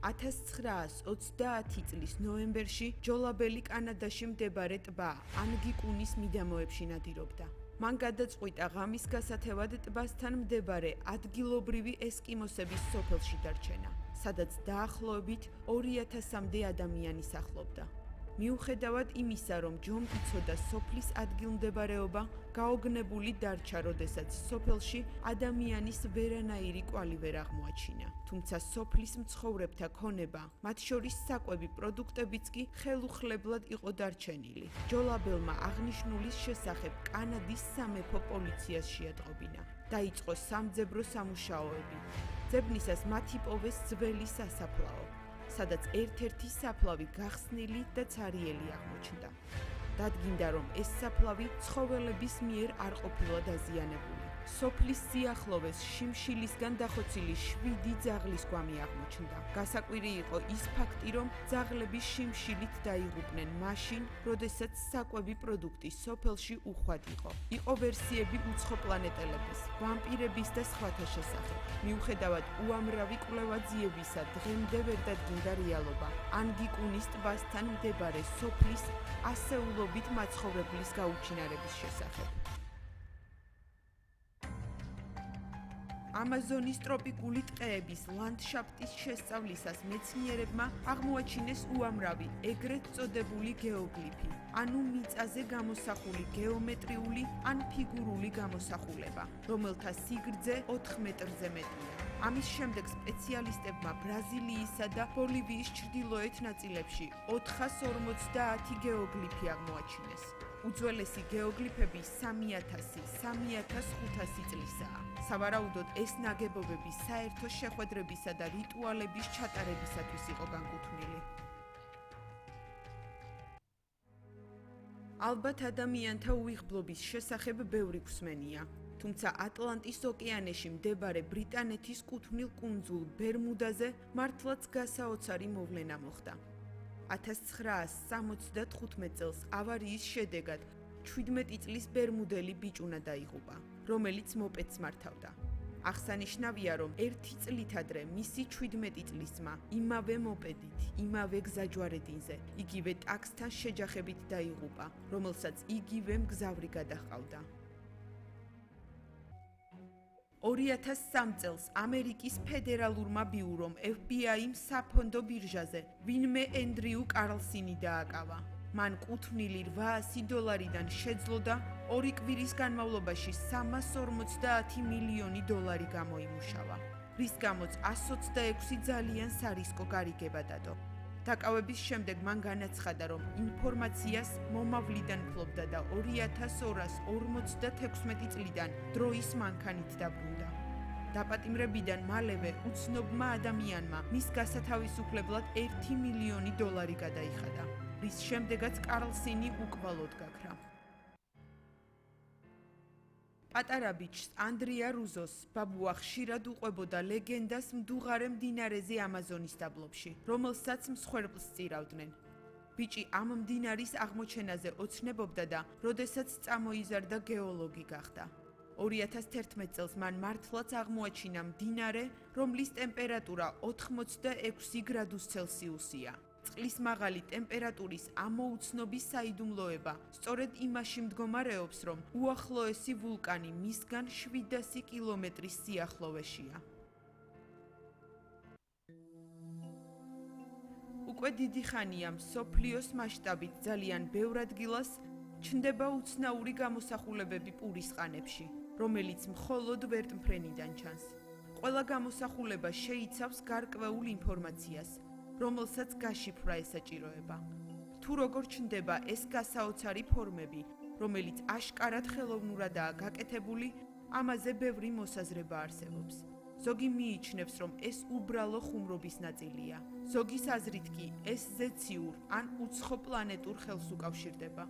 1930 წლის ნოემბერში ჯოლაბელი კანადაში მდებარე ტბა ანგიკუნის მიდამოებში ნადირობდა. მან გადაწყვიტა ღამის გასათევად ტბასთან მდებარე ადგილობრივი ესკიმოსების სოფელში დარჩენა, სადაც დაახლოებით 2000-მდე ადამიანი სახლობდა. მიუხედავად იმისა, რომ ჯომ იცოდა სოფლის ადგილმდებარეობა, გაოგნებული დარჩა, როდესაც სოფელში ადამიანის ვერანაირი კვალი ვერ აღმოაჩინა. თუმცა სოფლის მცხოვრებთა ქონება, მათ შორის საკვები პროდუქტებიც კი ხელუხლებლად იყო დარჩენილი. ჯოლაბელმა აღნიშნულის შესახებ კანადის სამეფო პოლიციას შეატყობინა. დაიწყო სამძებრო სამუშაოები. ძებნისას მათ იპოვეს ძველი სასაფლაო, სადაც ერთ-ერთი საფლავი გახსნილი და ცარიელი აღმოჩნდა. დადგინდა, რომ ეს საფლავი ცხოველების მიერ არ ყოფილა დაზიანებული. სოფლის სიახლოვეს შიმშილისგან დახოცილი 7 ძაღლის გვამი აღმოჩნდა. გასაკვირი იყო ის ფაქტი, რომ ძაღლები შიმშილით დაიღუპნენ მაშინ, როდესაც საკვები პროდუქტი სოფელში უხვად იყო. იყო ვერსიები უცხოპლანეტელების, ვამპირების და სხვათა შესახებ. მიუხედავად უამრავი კვლევა-ძიებისა, დღემდე ვერ დადგინდა რეალობა ანგიკუნის ტბასთან მდებარე სოფლის ასეულობით მაცხოვრებლის გაუჩინარების შესახებ. ამაზონის ტროპიკული ტყეების ლანდშაფტის შესწავლისას მეცნიერებმა აღმოაჩინეს უამრავი ეგრეთ წოდებული გეოგლიფი, ანუ მიწაზე გამოსახული გეომეტრიული ან ფიგურული გამოსახულება, რომელთა სიგრძე 4 მეტრზე მეტია. ამის შემდეგ სპეციალისტებმა ბრაზილიისა და ბოლივიის ჩრდილოეთ ნაწილებში 450 გეოგლიფი აღმოაჩინეს. უძველესი გეოგლიფები 3000-3500 წლისაა. სავარაუდოდ ეს ნაგებობები საერთო შეხვედრებისა და რიტუალების ჩატარებისათვის იყო განკუთვნილი. ალბათ ადამიანთა უიღბლობის შესახებ ბევრი გვსმენია. თუმცა ატლანტის ოკეანეში მდებარე ბრიტანეთის კუთვნილ კუნძულ ბერმუდაზე მართლაც გასაოცარი მოვლენა მოხდა. 1975 წელს ავარიის შედეგად 17 წლის ბერმუდელი ბიჭუნა დაიღუპა, რომელიც მოპედს მართავდა. აღსანიშნავია, რომ 1 წლით ადრე მისი 17 წლის ძმა იმავე მოპედით, იმავე გზაჯვარედინზე, იგივე ტაქსთან შეჯახებით დაიღუპა, რომელსაც იგივე მგზავრი გადაჰყავდა. 2003 წელს ამერიკის ფედერალურმა ბიურომ FBI-მ საფონდო ბირჟაზე ვინმე ენდრიუ კარლსინი დააკავა. მან კუთვნილი $800-დან შეძლო და 2 კვირის განმავლობაში $350 მილიონი გამოიმუშავა, რის გამოც 126 ძალიან სარისკო გარიგება დადო. დაკავების შემდეგ მან განაცხადა, რომ ინფორმაციას მომავლიდან ფლობდა და 2246 წლიდან დროის მანქანით დაბრუნდა. დაპატიმრებიდან მალევე უცნობმა ადამიანმა მის გასათავისუფლებლად $1 მილიონი გადაიხადა, რის შემდეგაც კარლსინი უკვალოდ გაქრა. პატარა ბიჭს ანდრია რუზოს ბაბუა ხშირად უყვებოდა ლეგენდას მდუღარე მდინარეზე ამაზონის დაბლობში, რომელსაც მსხვერპლს სწირავდნენ. ბიჭი ამ მდინარის აღმოჩენაზე ოცნებობდა და როდესაც წამოიზარდა გეოლოგი გახდა. 2011 წელს მან მართლაც აღმოაჩინა მდინარე, რომლის ტემპერატურა 86 გრადუს ცელსიუსია. წყლის მაღალი ტემპერატურის ამოუცნობის საიდუმლოება სწორედ იმაში მდგომარეობს, რომ უახლოესი ვულკანი მისგან 700 კილომეტრის სიახლოვეშია. უკვე დიდი ხანია მსოფლიოს მასშტაბით ძალიან ბევრ ადგილას ჩნდება უცნაური გამოსახულებები პურის ყანებში, რომელიც მხოლოდ ვერტმფრენიდან ჩანს. ყველა გამოსახულება შეიცავს გარკვეულ ინფორმაციას, რომელსაც გაშიფრვა ესაჭიროება. თუ როგორ ჩნდება ეს გასაოცარი ფორმები, რომელიც აშკარად ხელოვნურადაა გაკეთებული, ამაზე ბევრი მოსაზრება არსებობს. ზოგი მიიჩნევს, რომ ეს უბრალო ხუმრობის ნაწილია. ზოგის აზრით კი ეს ზეციურ ან უცხოპლანეტურ ხელს უკავშირდება.